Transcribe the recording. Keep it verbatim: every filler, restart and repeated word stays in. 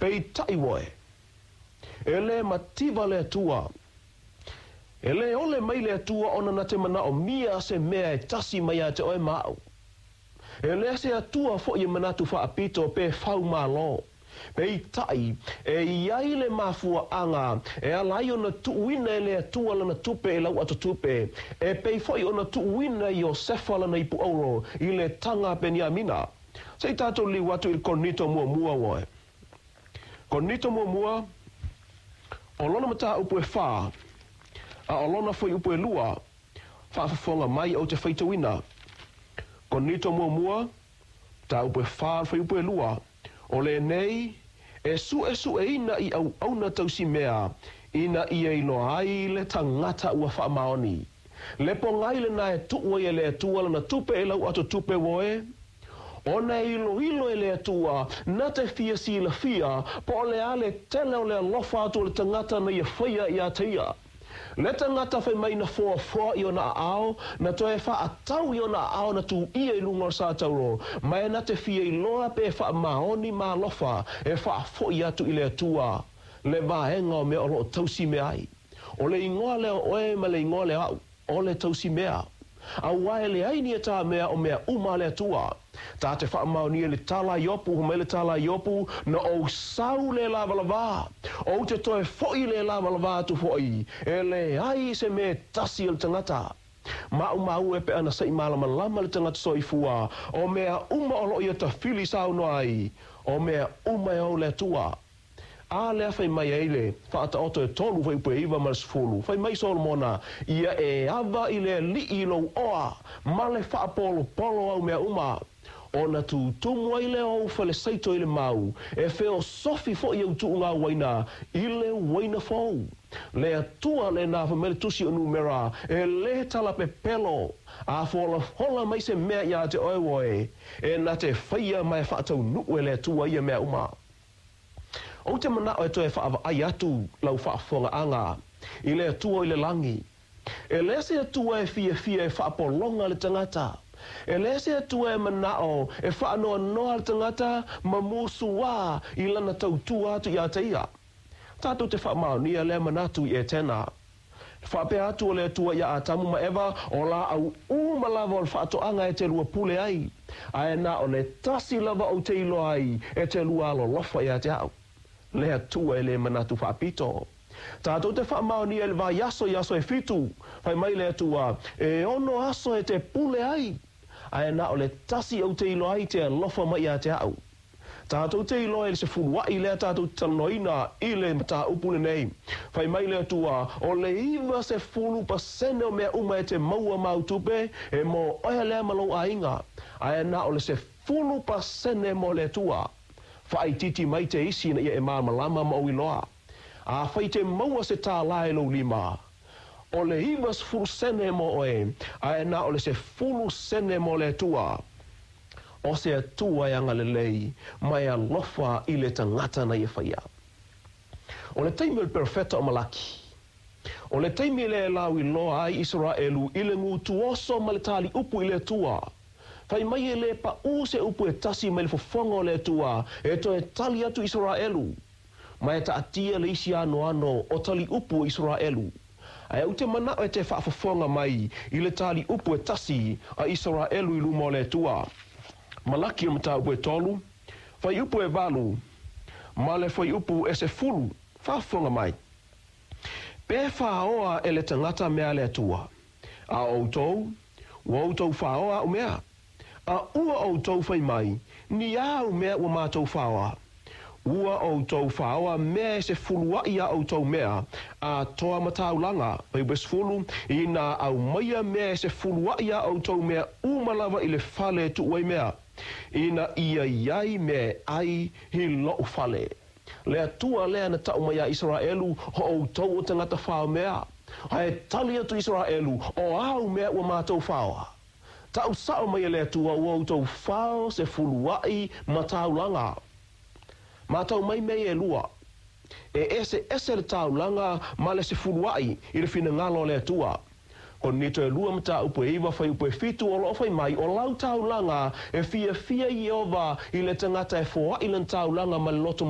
Peitai oe, e lē mativa le Atua, e lē ole mai le Atua ona na te manaomia se mea e tasi mai ia te oe ma aʻu. E le se Atua foʻi e manatu faapito pe faumālō. Peitai, e i ai le mafuaaga e ala ai ona tuuina e le Atua lana tupe i lau atotupe, e pei foʻi ona tuuina Iosefa lana ipu auro i le taga a Peniamina. Se i tatou liu atu i le Korinito Muamua oe. Korinito Muamua, o lona mataupu e fa, a o lona fuaiupu e lua, faafofoga mai ou te faitauina. Korinito Muamua, mataupu e fa, fuaiupu e lua, o lenei e suʻesuʻeina i auauna tausimea ina ia iloa ai le tagata ua faamaoni. Le pogai lena e tuu ai e le Atua lana tupe e lau atotupe oe, ona e iloilo e le Atua na te fia silafia po o le a le tele o le alofa atu o le tagata na ia faia ia te ia. Le tagata fai mai na foafoa i ona aao, na toe faatau i ona aao na tuia i luga o le satauro, ma e na te fia iloa pe faamaoni ma alofa e faafoi atu i le Atua le vaega o mea o loo tausi mea ai. O le igoa lea o oe ma le igoa lea au, o le tausi mea. Auā e leai ni a ta mea, o mea uma a le Atua. Ta te faamaonia le tala Iopu, mai le tala Iopu, na ou sau le lavalavā, ou te toe foʻi le lavalavā atu foʻi, e leai se mea tasi o le tagata. Maumau e pe ana se i malamalama le tagata soifua, o mea uma o loo ia tafili saunoa ai, o mea uma e ou le Atua. A lea fai mai ai le Faataoto e tolu fuaiupu e iva ma le sefulu. Fai mai Solomona, ia e ava i le Alii lou oa, ma le faapolopolo au mea uma. Ona tutumu ai lea o ou falesaito i le mau, e feosofi foʻi au tuuga uaina i le uaina fou. Le Atua lena, fai mai le tusi o Numera, e lē talapepelo. A folafola mai se mea iā te oe oe, e na te faia ma e faataunuu e le Atua ia mea uma. Ou te manaʻo e toe faavaai atu lau faafofogaaga i le Atua i le lagi. E lē se Atua e fiafia e faapologa le tagata. E lē se Atua e manaʻo e faanoanoa le tagata ma musuā i lana tautua atu iā te ia. Tatou te faamaonia lea manatu i Etena. Faapea atu o le Atua iā Atamu ma Eva, o laau uma lava o le faatoaga e te lua pule ai. Ae na o le tasi lava ou te iloa ai e te lua alolofa iā te aʻu. Le Atua e lē manatu faapito. Tatou te faamaonia i le vaiaso i aso e fitu. Fai mai le Atua, e ono aso e te pule ai. Ae na o le tasi ou te iloa ai te alofa mai ia te aʻu. Tatou te iloa i le sefuluaʻi lea tatou te talanoaina i le mataupu lenei. Fai mai le Atua, o le iva sefulu pasene o mea uma e te maua ma au tupe, e mo oe lea ma lou aiga. Ae na o le sefulu pasene mo le Atua. Faaitiiti mai te isi ina ia e malamalama ma ou iloa. Afai te maua se tālā i lou lima, o le iva sefulu sene mo oe, ae na o le sefulu sene mo le Atua. O se Atua e agalelei, ma e alofa i le tagata na ia faia. O le taimi o le perofeta o Malaki. O le taimi lea e lauiloa ai Isaraelu i le gutuoso ma le taliupu i le Atua. Fai mai e lē paʻū se upu e tasi mai le fofoga o le Atua e toe tali atu Isaraelu. Ma e taatia le isi anoano o taliupu o Isaraelu. Ae ou te manaʻo e te faafofoga mai i le taliupu e tasi a Isaraelu i luma o le Atua. Malaki o mataupu e tolu, fuaiupu e valu, ma le fuaiupu e sefulu, faafofoga mai. Pe faoa e le tagata mea a le Atua. A outou, ua outou faoa aʻu mea. A ua outou fai mai, ni a au mea ua matou faoa? Ua outou faoa mea e sefuluaʻi a outou mea, atoa ma taulaga, fuaiupu e sefulu, ina aumaia mea e sefuluaʻi a outou mea uma lava i le fale e tuu ai mea. Ina ia i ai mea e ai i loʻu fale. Le Atua lea na taʻu mai iā Isaraelu, o outou o tagata fao mea. Ae tali atu Isaraelu, o a au mea ua matou faoa? Taʻu saʻo mai e le Atua ua outou fao sefuluaʻi ma taulaga. Matau mai mea ia e lua. E eseese le taulaga ma le sefuluaʻi i le finagalo o le Atua. Korinito e lua mataupu e iva fuaiupu e fitu o loo fai mai o lau taulaga e fiafia Ieova i le tagata e foaʻi lana taulaga ma le loto.